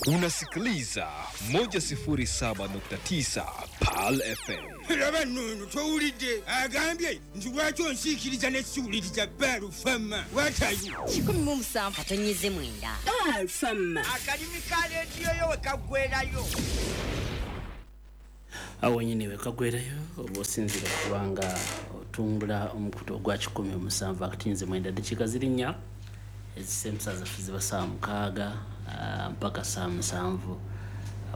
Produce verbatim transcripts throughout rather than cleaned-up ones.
Unasikiliza moja sifuri saba nukta tisa Pearl F M. Laba nno towulidde agambye nti lwaki onsiikiriza ne siwuliriza Pearl F M. Watayo kikumi mu musanvu katonnyeze mwenda. Pearl F M. Akalimi ka leediyo yo we kaggweerayo. Awo nnyini we kaggweerayo oba osinziira kubanga otumbula omukutu ogwa kikumi mu musanvu akatonnyeze mwenda ddakiika ziri nnya ezisemsa zaffe ziba ssaawa mukaaga mpaka ssaawa musanvu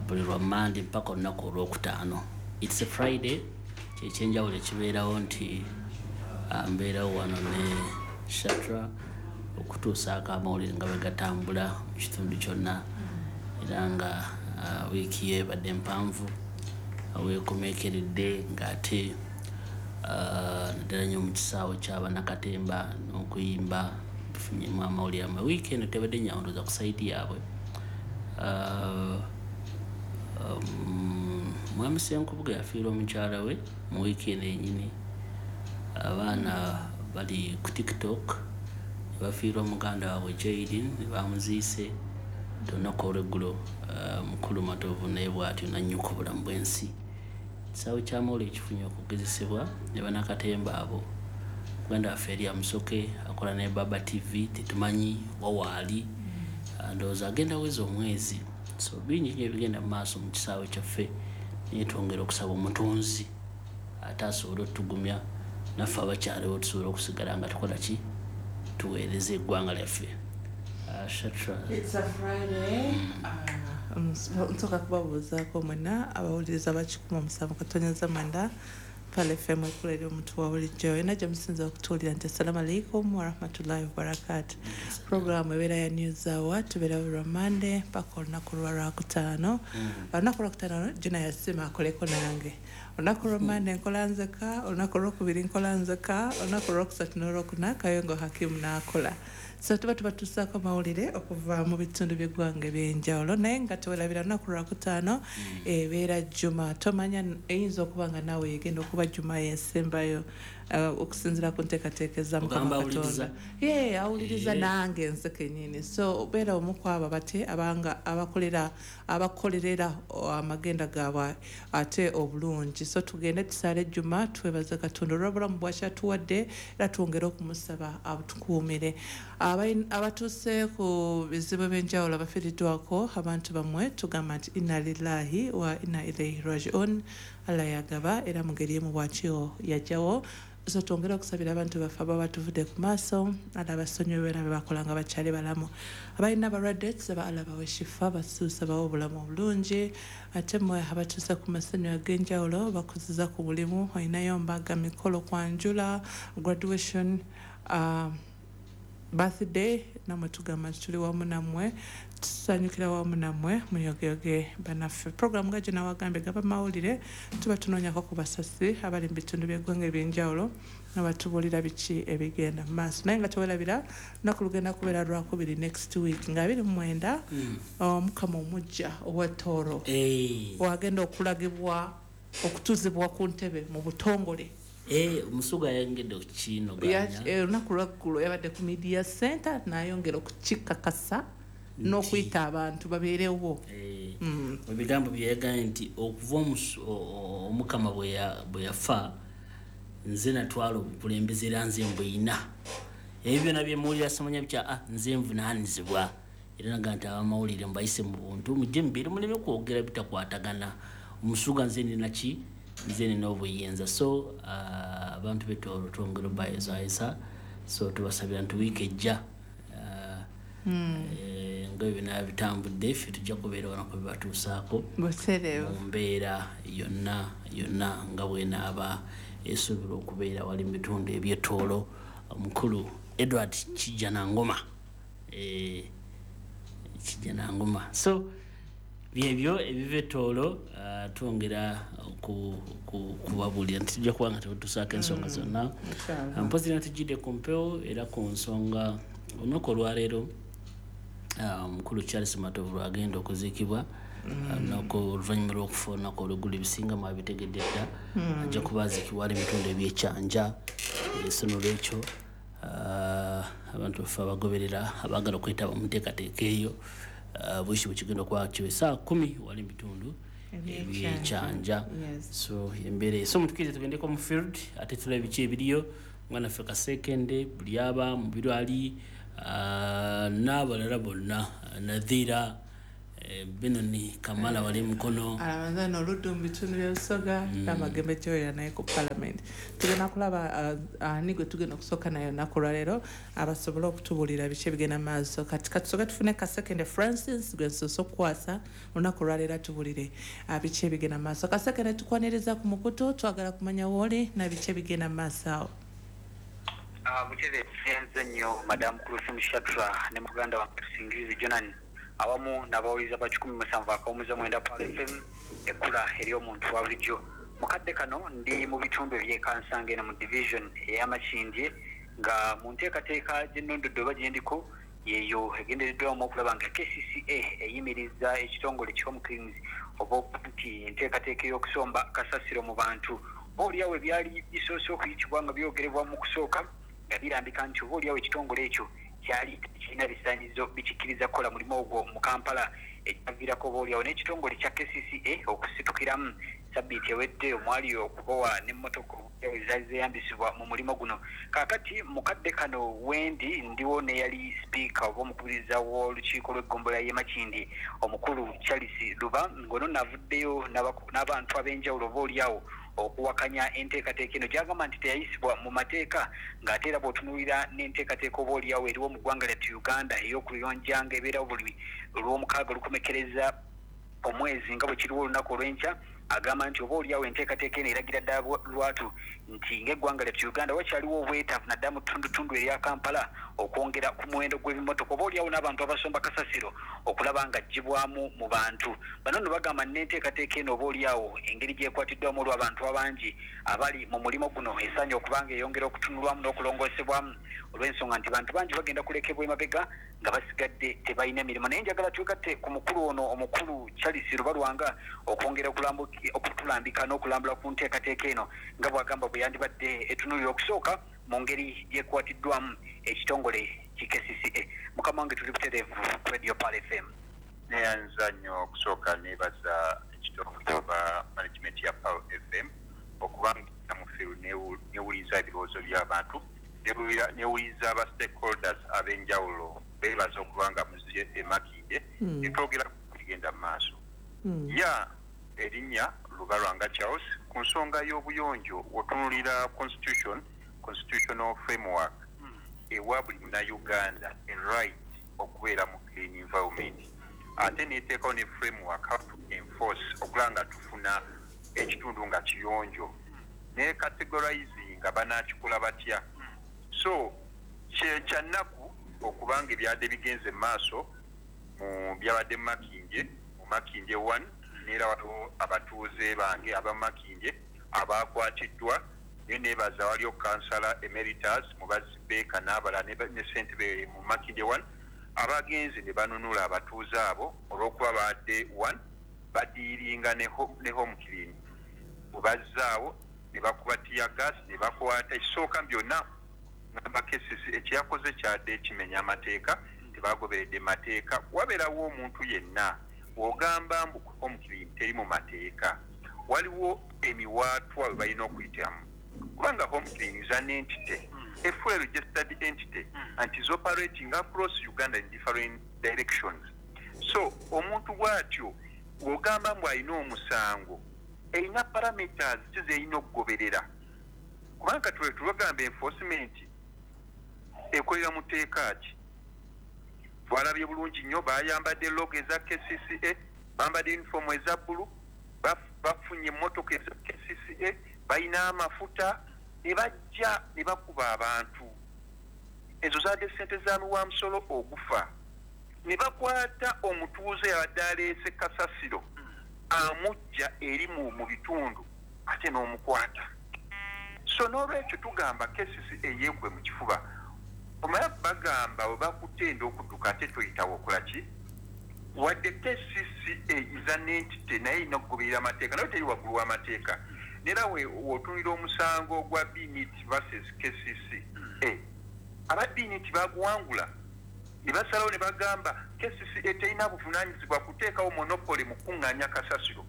buli lwa Mmande mpaka olunaku olwokutaano. It's a Friday, kyekyenjawulo ekibeerawo nti mbeerawo wano ne Shatra okutuusaako amawulire nga bwe gatambula mu kitundu kyonna, era nga wiiki ye ebadde mpanvu weekomeekeredde ng'ate naddala nnyo mu kisaawe ky'Abannakatemba n'okuyimba tufunyemu amawulire amwe. Wiiki eno tebadde nnyangu ku sayidi yaabwe. Mwami Ssenkubuge yafiirwa omukyala we mu wiiki eno yennyini. Abaana bali ku TikTok ne bafiirwa muganda waabwe Jaden ne bamuziise olunaku olw'eggulo. Mukulu Matovu naye bw'atyo n'annyuka obulamu bw'ensi. Ekisaawe ky'amawulire kifunye okugezesebwa ne bannakatemba abo. Muganda waffe Eria Musoke akola ne Baba T V, tetumanyi wa waali, ndowooza agenda weza omwezi. So bingi nnyo ebigenda mu maaso mu kisaawe kyaffe, naye twongera okusaba omutonzi ate asobole otugumya naffe abakyaliwo tusobole okusigala nga tukola ki, tuweereza eggwanga lyaffe. Shatra. It's a Friday. Nsooka kubabuuzaako mwenna abawuliriza ba kikumi musanvu katonnyeze mwenda Pearl F M ekula eri omuntu wa bulijjo. Yonna gye musinza okutuwulira nti assalamu alaikum warahmatullahi wabarakatuh. Programu ebeera ya News Hour, tubeera buli lwa Mmande mpaka olunaku lwa Lwakutaano. Olunaku Lwakutaano Juna yasiima akoleko nange. Olunaku lwa Mmande nkola nzeka, olunaku olwokubiri nkola nzeka, olunaku olwokusatu n'olwokuna Kayongo Hakimu n'akola. So tuba tubatuusaako mawulire okuva mu bitundu by'eggwanga eby'enjawulo, naye nga tewerabira olunaku lwakutaano ebeera Juma. Tomanya eyinza okuba nga naawe yegenda okuba Juma y'ensembayo okusinziira ku nteekateeka eza Mukama Katonda. Ye awuliriza nange nze kennyini. So obeera omu ku abo bate abanga abakolera abakolerera amagenda gaabwe ate obulungi. So tugende tusaale Juma, twebaze Katonda olw'obulamu bw'akyatuwadde era twongere okumusaba atukuumire. Abatuuse ku bizibu ebyenjawulo abafiiriddwako abantu bammwe, tugamba nti inna lillahi wa inna ilaihi rajiun. Allah yagaba era mu ngeri emu bw'atyo yajjawo. So twongere okusabira abantu baffe ababa batuvudde ku maaso, Allah abasonyiwe era be bakola nga bakyali balamu. Abalina abalwadde tusaba Allah bawe shifa, basuusa bawe obulamu obulungi. Ate mmwe abatuuse ku masanyu ag'enjawulo bakuziza ku mulimu, olinayo mbaga, mikolo, kwanjula, graduation, uh, birthday, namwe tugamba nti tuli wamu nammwe, tusanyukira wamu nammwe, muyogeyoge bannaffe. Programu nga gye nawagambye gaba mawulire, tuba tunoonyako ku basasi abali mu bitundu by'eggwanga ebyenjawulo nga batubuulira biki ebigenda mu maaso. Naye nga tewerabira lunaku lugenda kubeera Lwakubiri next week nga abiri mu mwenda Omukama omuggya ow'e Tooro wagenda okulagibwa okutuuzibwa ku ntebe mu butongole. Eh, Musuga yayongedde okukinoganya. Olunaku lwaggulo yabadde ku media center n'ayongera okukikakasa n'okuyita abantu babeerewo. Ebigambo bye yagambye nti okuva Omukama bwe yafa nze natwala obukulembeze era nze mbuyina. Ebyo byonna bye muwulira simanya bitya, ah, nze nvunaanyizibwa. Era naga nti abamawulire mbayise mu buntu mujje mubeere muleme kwogera bitakwatagana. Omusuga nze nina ki, nze nina obuyinza. So abantu uh, b'e Tooro twongera obayozayisa. So tubasabira nti wiiki ejja nga ebyo byonna bitambudde ffe tujja kubeera wano kubibatuusaako mu mbeera yonna yonna nga bw'enaaba esuubirwa okubeera wali mu bitundu eby'e Tooro. Omukulu Edward Kijjanangoma, eh, Kijjanangoma. So byebyo ebiva e Tooro, uh, twongera kubabuulira nti tujja kuba nga tetutuusaako ensonga zonna. Mpozi na tujjidde ku mpewo era ku nsonga olunaku olwaleero omukulu Charles Matovu lwagenda okuziikibwa olunaku oluvannyuma lw'okufa olunaku olw'eggulo, ebisinga mwabitegedde dda. Ajja kuba aziikibwa ali mu bitundu eby'Ekyanja. So n'olwekyo abantu baffe abagoberera abaagala okwetaba mu nteekateeka eyo uh, bwishi bwekigenda okuba kiwe saa kumi wali mu bitundu ebyekyanja. So embeera, so mutukirize tugendeko mu field ate tulabe biki ebiriyo. Mwana ffe Kasekende buli aba mu biro ali, uh, n'abalala bonna, Nadhira, eh, Benoni Kamala wali mukono. Alamanzano oluddu mu bitundu by'Obusoga n'amagembe gyoyera naye ku parliament. Tugenda kulaba ani gwe tugenda okusooka naye olunaku olwaleero abasobole okutubuulira biki ebigenda mu maaso. Kati katusooke tufune Kasekende Francis gwe nsoose okukwasa olunaku olwaleero atubuulire biki ebigenda mu maaso. Kasekende, tukwaniriza ku mukutu, twagala kumanya wooli na biki ebigenda mu maaso awo. Butebe nze nnyo, Madamu Kulusumu Shatra ne muganda wange Tusingirizi Jonan, awamu n'abawuliza ba kikumi musanvu akawumuza mwenda Pearl F M, ekkula ery'omuntu wa bulijjo. Mukadde kano ndi mu bitundu eby'Ekansanga eno mu division ey'Amakindye, nga mu nteekateeka gy'ennondodde oba gyendiko yeeyo egendereddwamu okulaba nga K C C A eyimiriza ekitongole ki Home Cleans, oba nti enteekateeka ey'okusomba kasasiro mu bantu. Oba oliawo ebyali bisoose okuyitibwa nga byogerebwa mu kusooka nga birambika nti oba oliawo ekitongole ekyo kyali kirina bisaanyizo bikikkiriza kukola mulimu ogwo mu Kampala, ekyaviirako oba oliawo n'ekitongole kya K C C A okusitukiramu sabbiiti ewedde omwali okubowa n'emmotoka ezaali zeeyambisibwa mu mulimu guno. Kaakati mukadde kano wendi ndiwo n'eyali sipiika oba omukubiriza w'olukiiko lw'eggombolola y'e Makindye, omukulu Charles Luba, ng'ono naavuddeyo n'abantu ab'enjawulo oba oliawo okuwakanya enteekateeka eno gyagamba nti teyayisibwa mu mateeka, ng'ate era bw'otunuulira n'enteekateeka oba oliawo eriwo mu ggwanga lyattu Uganda ey'okuyonjanga ebeerawo buli olw'omukaaga olukomekereza omwezi nga bwe kiriwo olunaku olw'enkya. Agamba nti oba oliawo enteekateeka eno eragira ddala lwatu nti ng'eggwanga lyattu Uganda wakyaliwo obwetaavu naddala mu ttundutundu erya Kampala okwongera ku muwendo gw'ebimotoka oba oliawo n'abantu abasomba kasasiro okulaba nga aggyibwamu mu bantu bano. Nno bagamba n'enteekateeka eno oba oliawo engeri gyekwatiddwamu olw'abantu abangi abali mu mulimu guno esaanye okuba nga eyongera okutunulwamu n'okulongoosebwamu, olw'ensonga nti bantu bangi bagenda kulekebwa emabega nga basigadde tebalina mirimu. Naye njagala twegatte ku mukulu ono, omukulu Charles Lubalwanga, okwongera okutulambika n'okulambula ku nteekateeka eno nga bw'agamba bwe yandibadde etunuulira okusooka mu ngeri gyekwatiddwamu ekitongole ki K C C A. Mukama wange, tuli butereevu ku Radio Pearl F M. Neyanza nnyo. Okusooka nebaza ekitongole oba management ya Pearl F M okubanga mufiru newuliza ebirowoozo by'abantu, newuliza aba stakeholders ab'enjawulo. Beebaza okuba nga muziye emakindye netwogera kugenda mu maaso. Ya erinnya Lubalwanga Charles. Ku nsonga y'obuyonjo, otunulira constitution, constitutional framework ewa buli Munnayuganda a right okubeera mu clean environment, ate neteekawo ne framework how to enforce okulaba nga tufuna ekitundu nga kiyonjo, ne categorizing nga banakikola batya. So kyannaku okubanga ebyadde bigenze mu maaso mu byabadde mu Makindye, mu Makindye one, neera waliwo abatuuze bange abamakindye abakwatiddwa. Naye nebaza waliyo kansala emeritus Mubazi Beeka n'abalala ne ssentebe mu Makindye one abagenzi ne banunula abatuuze abo olw'okuba badde one badiiringa ne Home Clean. Mubazzaawo ne bakuba teargas ne bakwata. Ekisooka byonna ngamba K C C ekyakoze kyadde ekimenya amateeka, tebagoberedde mateeka. Wabeerawo omuntu yenna w'ogamba mbu Home Clean teri mu mateeka, waliwo emiwaatwa we balina okuyitamu, kubanga Home Clean is an entity, a fully registered entity, and is operating across Uganda in different directions. So omuntu bw'atyo w'ogamba mbu alina omusango, erina parameters ki zerina okugoberera? Kubanga twe tubagamba enforcement ekolera mu tteeka ki? Twalabye bulungi nnyo, bayambadde logo eza K C C A, bambadde uniform eza bbulu, bafunye emmotoka eza K C C A, balina amafuta ne bajja ne bakuba abantu. Ezo zadde sente za muwamusolo ogufa. Ne bakwata omutuuze yabadde aleese kasasiro amujja eri mu bitundu, ate n'omukwata. So n'olwekyo tugamba K C C A yeekwe mu kifuba. Omala bagamba we bakutenda okudduka ate toyitawo okola ki? Wadde K C C A is an entity, naye erina okugoberera amateeka, naye teri waggulu w'amateeka. Nera w'otunulira omusango gwa Binit versus K C C A, aba Binit baguwangula. Ne basalawo ne bagamba K C C A terina buvunaanyizibwa kuteekawo monopoly mu kuŋŋaanya kasasiro.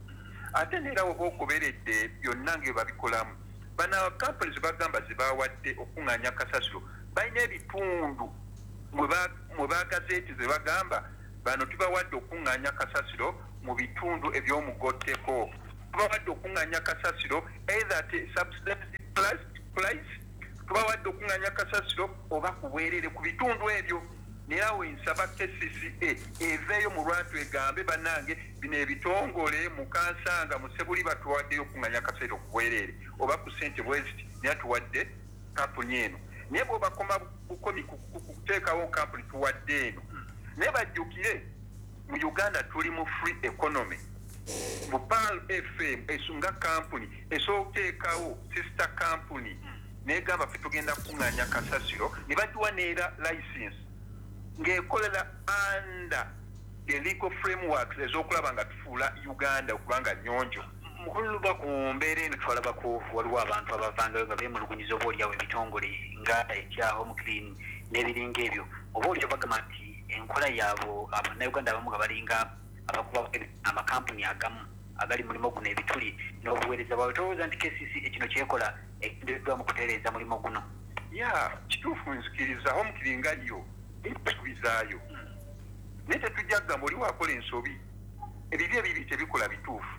Ate neera oba ogoberedde byonna nga babikolamu, bano companies bagamba ze bawadde okuŋŋaanya kasasiro balina ebitundu mwe bagazeeti ze bagamba bano tubawadde okuŋŋaanya kasasiro mu bitundu eby'omugotteko, tubawadde okuŋŋaanya kasasiro either at subsidized price, tubawadde okuŋŋaanya kasasiro oba ku bwereere ku bitundu ebyo. Naye awo nsaba K C C A eveeyo mu lwatu egambe bannange bino ebitongole mu Kansanga mu Sebuli batuwaddeyo okuŋŋaanya kasasiro ku bwereere oba ku ssente bwe ziti, naye tuwadde kampuni eno. Naye bw'obakoma bukomi kuteekawo kampuni tuwadde eno, naye bajjukire mu Uganda tuli mu free economy. Mu Pearl F M esunga kampuni esobola okuteekawo sister company negamba ffe tugenda kuŋŋaanya kasasiro ne bagiwa neera license ng'ekolera under the legal frameworks ez'okulaba nga tufuula Uganda okuba nga nnyonjo. Mukulu Luba, ku mbeera eno twalabako waliwo abantu abavangayo nga beemulugunyiza oba oliawo ebitongole nga ekya Home Clean n'ebiringa ebyo, oba oliawo bagamba nti enkola yaabo abannayuganda abamu nga balinga abakuba amakampuni agamu agali mulimu guno ebituli n'obuweereza bwabwe. Tolowooza nti K C C A kino kyekola ekigendereddwa mu kutereeza mulimu guno? Ya, kituufu, nzikiriza Home Clean nga yo ekubizaayo, naye tetujja kugamba oli waakola ensobi, ebibi ebibi tebikola bituufu.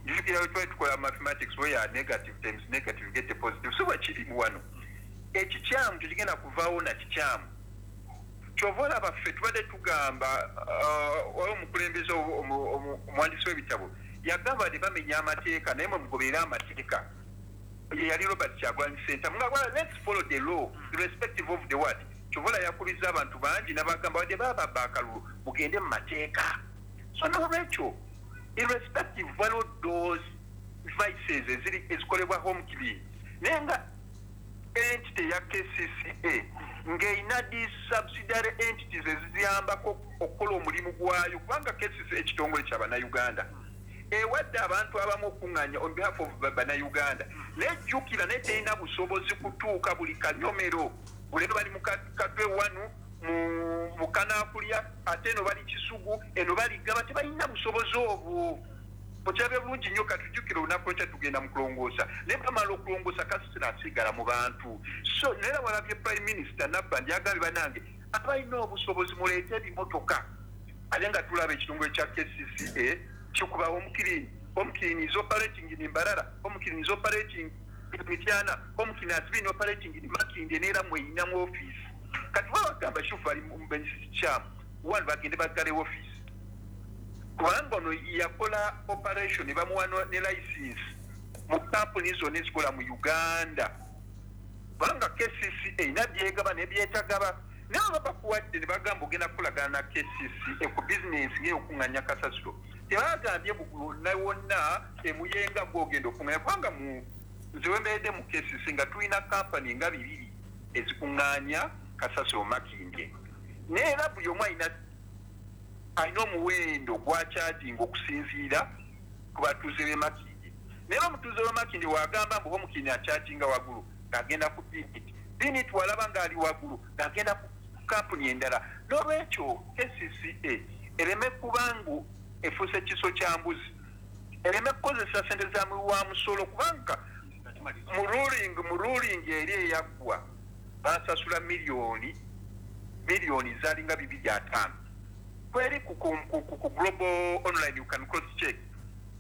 Njujukira bwe twali tukola mathematics where negative times negative get a positive, so bwekiri wano ekikyamu tekigenda kuvaawo na kikyamu. Kyova olaba ffe tubadde tugamba, waliwo omukulembeze omuwandiisi w'ebitabo yagamba nti bamenya amateeka naye mwe mugoberere amateeka. Ye yali Robert Kyagulanyi Ssentamu nga let's follow the law irrespective of the what. Kyova olaba yakubizza abantu bangi n'abagamba wadde baababba akalulu mugende mu mateeka. So n'olwekyo irrespective waliwo those vices eziri ezikolebwa Home Clean, naye nga entity ya K C C A ng'erina these subsidiary entities eziyambako okukola omulimu gwayo, kubanga K C C A ekitongole kya Bannayuganda ewadde abantu abamu okuŋŋaanya on behalf of Bannayuganda, naye jjukira naye terina busobozi kutuuka buli kanyomero. Buleero bali mu Katwe wanu mu Kanaakulya, ate eno bali Kisugu, eno bali Gaba, tebalina busobozi obwo. Okirabye bulungi nnyo, katujjukire olunaku lwekya tugenda mu kulongoosa, naye bamala okulongoosa kasasiro asigala mu bantu. So naye walabye Prime Minister Nabbanja yagambye bannange abalina obusobozi muleete ebimotoka, ate nga tulaba ekitongole kya K C C A kikuba Home Clean. Home Clean is operating in Mbarara, Home Clean is operating in Mityana, Home Clean has been operating in Makindye neera mweyinamu office. Kati babagamba Shufu ali mu kikyamu, one bagende baggale office kubanga ono yakola operation ne bamuwa ne license mu kampuni zonna ezikola mu Uganda, kubanga K C C A erina byegaba ne byetagaba. Naye baba bakuwadde ne bagamba ogenda kukolagana na K C C A ku bizinensi ng'eyokuŋŋaanya kasasiro, tebagambye wonna wonna emuyenga gw'ogenda okuŋŋaanya, kubanga mu nze we mbeeredde mu K C C nga tulina kampani nga bibiri ezikuŋŋaanya kasasiro Makindye, naye era buli omu alina alina omuwendo gw'akyajinga okusinziira ku batuuze b'e Makindye. Naye omutuuze w'e Makindye w'agamba mbu Home Clean akyajinga waggulu ng'agenda ku Binit, Binit walaba ng'ali waggulu ng'agenda ku kampuni endala. N'olwekyo K C C A ereme kubangu efuuse kiso kya mbuzi, ereme kukozesa ssente za muwi wa musolo, kubanga mu ruling mu ruling eri eyaggwa basasula miliyoni miliyoni zaalinga bibiri ataano. Kweri ku, ku, ku, ku global online you can cross check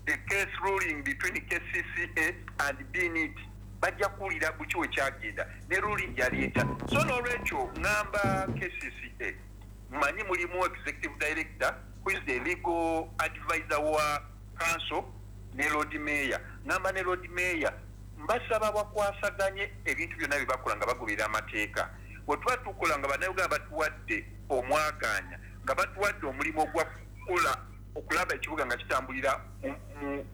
the case ruling between K C C A and B N I T, bajja kuwulira buki we kyagenda ne ruling yaleeta. So n'olwekyo ŋŋamba K C C A mmanyi mulimu executive director who is the legal advisor wa council ne Lord Mayor, ŋŋamba ne Lord Mayor mbasaba bakwasaganye ebintu byonna bye bakola nga bagoberera amateeka. Bwe tuba tukola nga Bannayuganda batuwadde omwagaanya, nga batuwadde omulimu ogwa kukola okulaba ekibuga nga kitambulira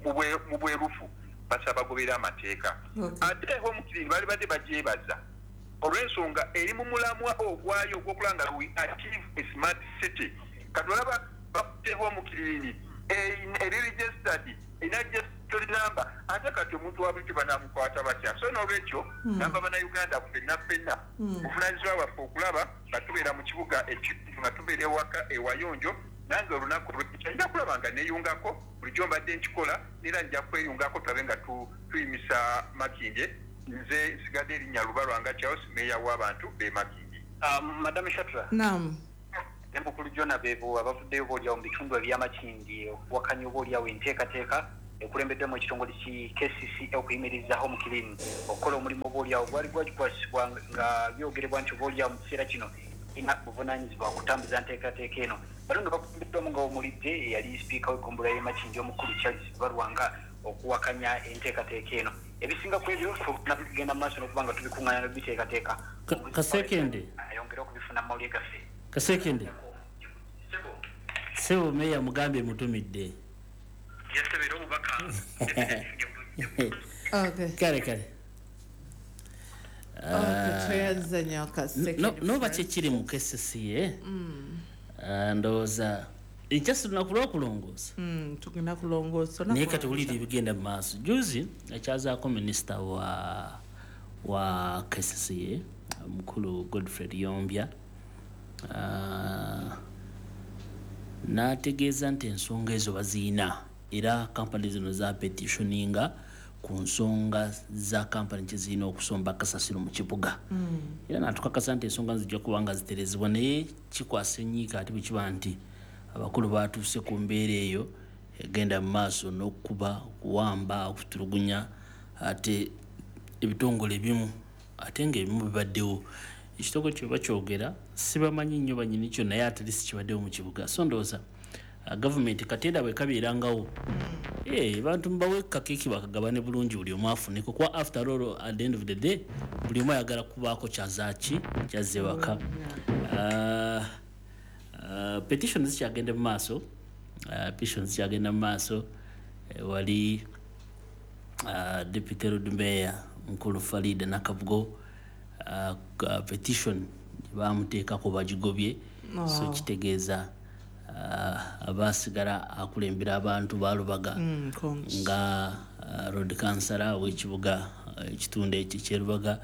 mu bwerufu, basaba bagoberera amateeka. Ate Home Clean baali badde bagyebaza olw'ensonga eri mu mulamwa ogwayo ogw'okulaba nga we achieve a smart city. Kati olaba bakutte Home Clean eri registered, erina Toli namba ate kati omuntu wa bulijjo banamukwata batya? So n'olwekyo namba Bannayuganda ffenna ffenna buvunaanyizibwa bwaffe okulaba nga tubeera mu kibuga ekintu, nga tubeera ewaka ewayonjo. Nange olunaku lwekya nja kulaba nga neeyungako. Bulijjo mbadde nkikola, era nja kweyungako tulabe nga tuyimisa Makindye. Nze nsigadde erinnya Lubalwanga Charles, meeya w'abantu b'e Makindye. Madam Shatra. Naam. Ne mukulu Jona, bebo abavuddeyo boolyawo mu bitundu eby'Amakindye okuwakanya oba oliawo enteekateeka ekulembeddemu ekitongole ki K C C okuyimiriza Home Clean okukola omulimu oba oliawo gwali gwagikwasibwa, nga byogerebwa nti oba oliawo mu kiseera kino ina buvunaanyizibwa okutambuza nteekateeka eno. Bano nga bakulembeddwamu nga omulidde eyali sipiika w'eggombolola y'e Makindye omukulu Charles Balwanga okuwakanya enteekateeka eno. Ebisinga ku ebyo tugenda mu maaso n'okuba nga tubikuŋŋaanya n'obiteekateeka. Kasekende. Ayongere okubifuna mu mawulire gaffe. Kasekende, sebo meya mugambye mutumidde. Yasabira omubaka. Okay. Kale kale. Tweyanza nnyo, Kasekende. Noba kyekiri mu K C C A, ndowooza ekyasi lunaku lwakulongoosa. Mm, tugenda kulongoosa. Naye kati wulira ebigenda mu maaso. Juzi akyazaako minisita wa wa K C C A omukulu Godfred Yombya, Ah, n'ategeeza nti ensonga ezo baziina, era kampani zino za petitioninga ku nsonga za kampani kyezirina okusomba kasasiro mu kibuga, era natukakasa nti ensonga zijja kuba nga ziterezebwa. Naye kikwasa enyiika ate bwe kiba nti abakulu batuuse ku mbeera eyo egenda mu maaso n'okuba, okuwamba, okutulugunya ate ebitongole ebimu, ate ng'ebimu bibaddewo. Ekitongole kye bakyogera sibamanyi nnyo banyini kyo, naye at least kibaddewo mu kibuga. So ndowooza uh, gavumenti kateera bwe kabeerangawo, Eh, bantu mubawe kakeeki bakagabane bulungi, buli omu afuneko, kuba after all, at the end of the day, buli omu ayagala kubaako kyazaaki kyazze waka. Uh, uh, petition zikyagenda mu maaso, uh, petition zikyagenda mu maaso. eh, wali uh, deputy lord mayor mukulu Farida Nakabugo, uh, uh, petition bamuteekako bagigobye. Wow. So kitegeeza uh, abasigala akulembera abantu balubaga Mm, congs. nga uh, road councillor w'ekibuga uh, ekitundu ekyo ekyerubaga,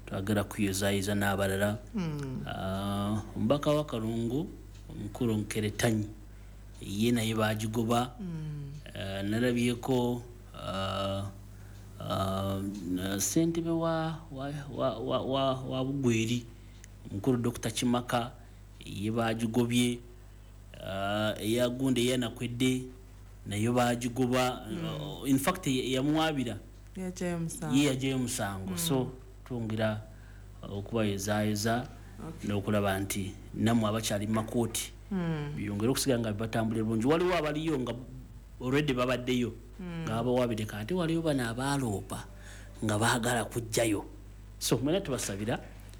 twagala kuyozayoza n'abalala. Mm. Uh, omubaka wa Kalungu omukulu Nkeretanyi ye naye bagigoba. Mm. Uh, nalabyeko uh, uh, ssentebe wa, wa, wa, wa, wa, wa Bugweri omukulu Doctor Kimaka ye bagigobye. uh, eyagundi eyanakwedde nayo bagigoba. mm. uh, in fact yamuwabira. Yajayo omusango. Ye yajayo omusango. So twongera okubayozaayoza n'okulaba nti nammwe abakyali mu makooti Mm. byongere okusigala nga batambulira bulungi. Waliwo abaliyo nga already babaddeyo nga babawabireka, ate waliwo bano abaaloopa nga baagala kujjayo. So mwena tubasabira,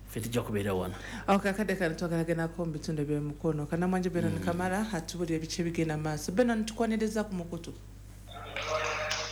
ffe tujja kubeera wano. Okay, akadde kano twagala gendako mu bitundu ebyemukono. Kanamwanje Benon Kamala atubulira ebiki ebigenda mu maaso. Benon, tukwaniriza ku mukutu.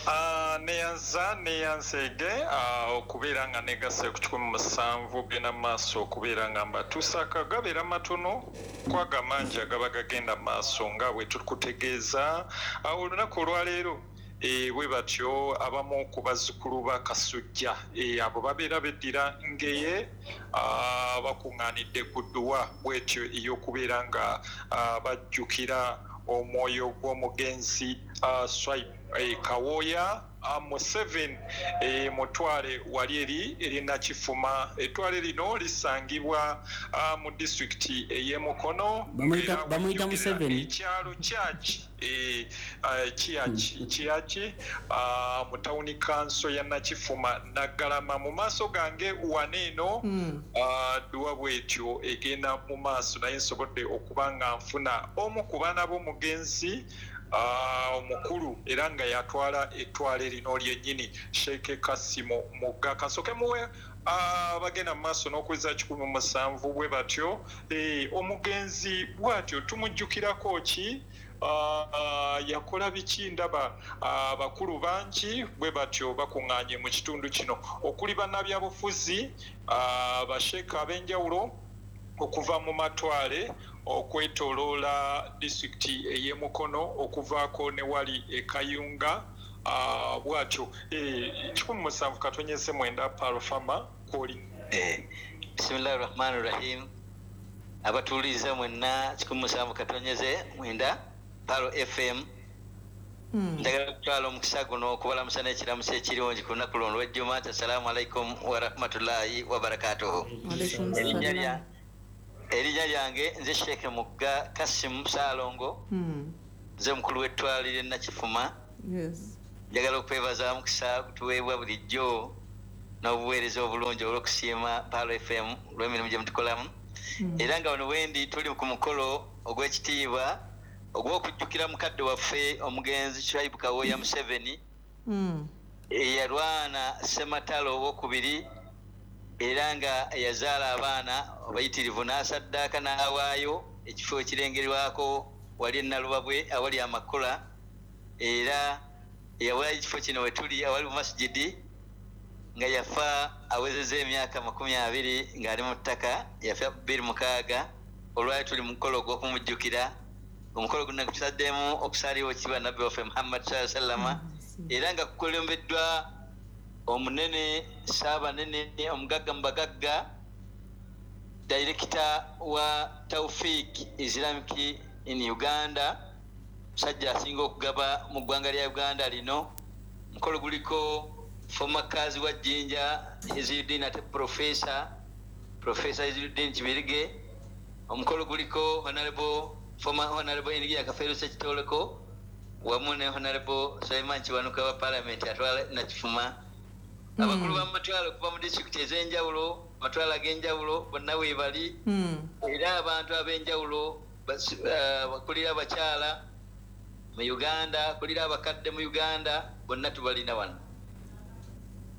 Ah, neyanza neyanzeege ah, okubeera nga negasse ku kikumi musanvu genda mu maaso okubeera nga mbatuusaako. Gabeera matono kwaga mangi agaba gagenda mu maaso nga bwe tukutegeeza. Ah, olunaku olwaleero eh, bwe batyo abamu ku bazzukulu ba Kasujja, eh, abo babeera beddira Ngeye, ah, bakuŋŋaanidde ku dduwa bwetyo ey'okubeera nga ah, bajjukira omwoyo gw'omugenzi uh, Swaib eh, Kawooya uh, Museveni eh, mutwale wali eri erinakifuma. Ettwale lino lisangibwa uh, mu disitulikiti ey'emukono. Bamuyita- Era Bamuyita wejjukira Museveni? Ekyalo kyaki eh, uh, kiyaki kiyaki uh, mu tawuni kanso ya Nakifuma Naggalama. Mu maaso gange wano eno Mm. uh, dduwa bwetyo egenda mu maaso, naye nsobodde okuba nga nfuna omu ku baana b'omugenzi uh, omukulu, era nga yatwala ettwale lino lyennyini, Sheikh Kasimu Mugga. Kasooke muwe uh, bagenda mu maaso n'okuweza kikumi musanvu bwe batyo. Eh, omugenzi bw'atyo tumujjukirako ki? Uh, uh, yakola biki? Ndaba abakulu uh, bangi bwe batyo bakuŋŋaanye mu kitundu kino, okuli bannabyabufuzi, uh, basheeka ab'enjawulo okuva mu matwale okwetoloola disitulikiti ey'emukono, okuvaako ne wali e Kayunga. Uh, bwatyo eh, kikumi musanvu katonyeze mwenda Parofama kwoli. Eh, bismillahi rahmani rahim. Abatuuliza mwenna kikumi musanvu katonyeze mwenda Paro F M. Mm. Njagala kutwala omukisa guno okubalamusa n'ekiramuso ekirungi ku lunaku luno olw'ejjuma. Assalamu alaikum warahmatullahi wabarakatuhu. Erinnya lyange nze Sheikh Mugga Kasim Ssalongo, nze mukulu w'ettwaliro Nakifuma. Njagala okwebaza omukisa gutuweebwa bulijjo n'obuweereza obulungi olw'okusiima Paro F M olw'emirimu gye mutukolamu. Era nga wano wendi tuli ku mukolo ogw'ekitiibwa ogw'okujjukira mukadde waffe omugenzi Shaibu Kawoya Museveni, eyalwana Ssematalo owokubiri era nga yazaala abaana abayitirivu n'asaddaaka n'awaayo ekifo ekirengerwako wali e Nalubabwe awali amakula, era yawaayo ekifo kino we tuli awali mu masijidi, nga yafa awezezza emyaka makumi abiri ng'ali mu ttaka, yafa bbiri mukaaga. Olwali tuli mu mukolo ogw'okumujjukira. Omukolo guno gutusaddemu okusaalira kiba Nabbi waffe Muhammad sallallahu alaihi wasallam, era nga kukulembeddwa omunene Ssaabanene omugagga mu bagagga, dayirekita wa Taufik Islamic in Uganda, musajja asinga okugaba mu ggwanga lya Uganda lino. Omukolo guliko former kazi wa Jinja Izzuddin ate professor Professor Izzuddin Kibirige. Omukolo guliko Honorable former Honorable Engineer Kafeero Ssekitoleko wamu ne Honorable Sulaiman Kiwanuka wa Parliament atwala Nakifuma. Abakulu b'amatwalo okuva mu disitulikiti ez'enjawulo, amatwalo ag'enjawulo bonna weebali, era abantu ab'enjawulo bakulira abakyala mu Uganda, kulira abakadde mu Uganda, bonna tubalina wano.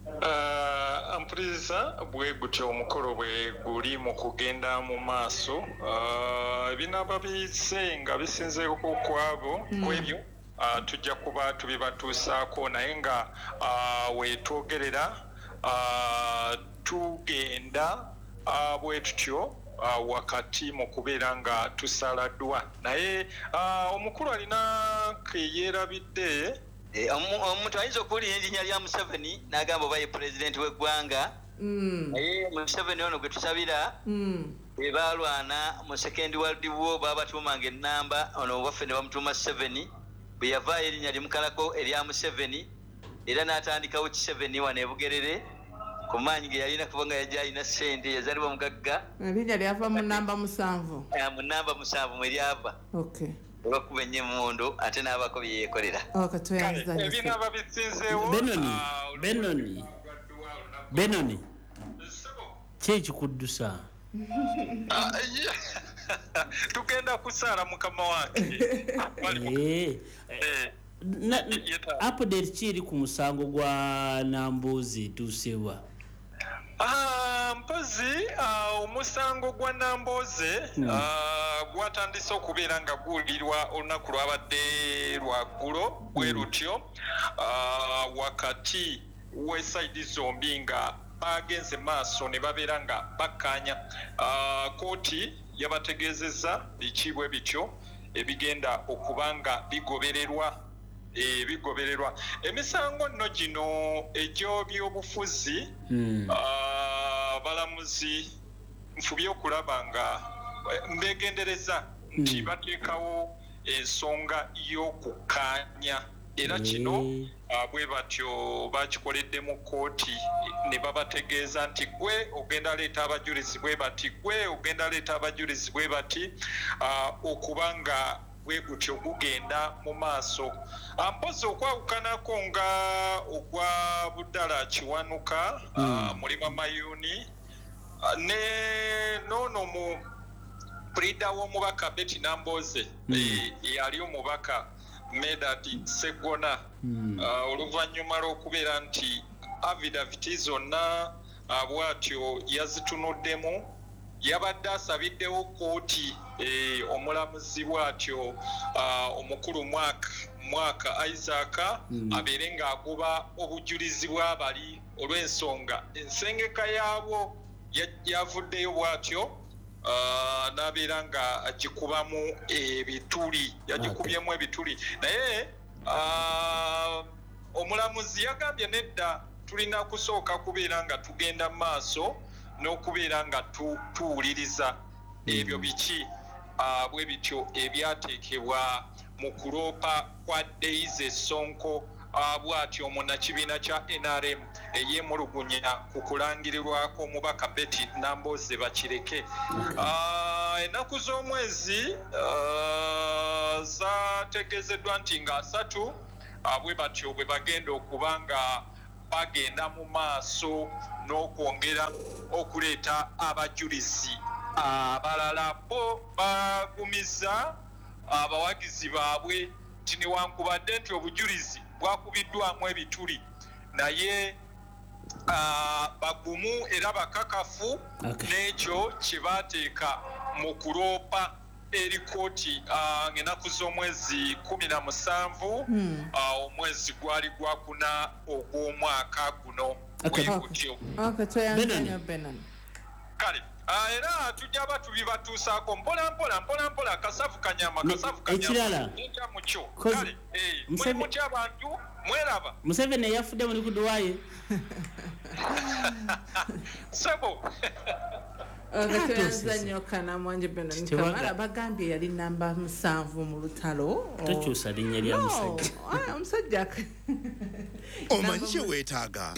Uh, mpuliriza bwe gutyo omukolo bwe guli mu kugenda mu maaso. Uh, ebinaaba bize nga bisinzeeko kwabo kwebyo, uh, tujja kuba tubibatuusaako, naye nga uh, wetwogerera uh, tugenda uh, bwe tutyo uh, wakati mu kubeera nga tusaladdwa. Naye uh, omukulu alina keyeerabidde. Omuntu ayinza okuwulira erinnya lya Museveni n'agamba oba ye pulezidenti w'eggwanga, naye Museveni ono gwe tusabira bwe baalwana mu Second World War baabatuumanga ennamba, ono waffe ne bamutuuma Seveni. Bwe yavaayo erinnya limukalako erya Museveni, era n'atandikawo Kiseveni wano e Bugerere ku maanyi ge yalina, kubanga yajja alina ssente, yazaalibwa mugagga. Erinnya lyava mu namba musanvu, mu namba musanvu mwe lyava. Okay. Olwokuba ennyo emmundu ate n'abaako bye yeekolera. Ebinaaba bisinzeewo. Benoni, Benoni, Benoni, ki ekikuddusa? Tugenda kusaala mukama wange. Update ki eri ku musango gwa Namboze etuusewa? Ah, mpozi omusango gwa Namboze gwatandise okubeera nga guwulirwa olunaku lwabadde lwaggulo bwe lutyo, wakati w'esayidi zombi nga bagenze maaso ne babeera nga bakkaanya. Kooti yabategeezezza biki bwe bityo ebigenda okuba nga bigobererwa ebigobererwa. Emisango nno gino egy'ebyobufuzi, abalamuzi nfubye okulaba nga mbegendereza nti bateekawo ensonga y'okukkaanya, era kino bwe batyo bakikoledde mu kkooti ne babategeeza nti gwe ogenda leeta abajulizi bwe bati, gwe ogenda leeta abajulizi bwe bati, okuba nga bwe gutyo gugenda mu maaso. Mpozi okwawukanako nga ogwa Budala Kiwanuka, Mulima Mayuni ne noono mu pulida w'omubaka Betty Namboze yali omubaka Medard Sseggona, oluvannyuma lw'okubeera nti affidavit zonna bw'atyo yazitunuddemu, yabadde asabiddewo kkooti omulamuzi bw'atyo omukulu Mwaka Mwaka Isaac abeere ng'agoba obujulizi bw'abali olw'ensonga ensengeka yaabwo yavuddeyo bw'atyo n'abeera nga agikubamu ebituli, yagikubyemu ebituli. Naye Omulamuzi yagambye nedda, tulina kusooka kubeera nga tugenda mu maaso n'okubeera nga tuwuliriza ebyo biki bwe bityo ebyateekebwa mu kuloopa kwa Daisy Sonko, bw'atyo munnakibiina kya N R M eyeemulugunya ku kulangirirwako omubaka Betty Nambooze Bakireke. Ennaku z'omwezi zategeezeddwa nti nga asatu bwe batyo bwe bagenda okuba nga bagenda mu maaso n'okwongera okuleeta abajulizi abalala. Bo bagumiza abawagizi baabwe nti newankubadde nti obujulizi bwakubiddwamu ebituli, naye bagumu era bakakafu n'ekyo kye baateeka mu kuloopa eri kooti ng'ennaku z'omwezi kumi na musanvu omwezi gwali gwakuna ogw'omwaka guno. Bwe gutyo. Kale era tujja batubibatuusaako mpola mpola mpola mpola, kasavu kanyama kasavu kanyama mukyo. Kale muli mutya abantu, mweraba Museveni yafudde muli kuduwaye sebo. Tweyanza nnyo Kanamwanje Benon Kamala. Bagambye yali namba musanvu mu lutalo. Tokyusa linnya lya musajja. Omusajja omanyi kye weetaaga.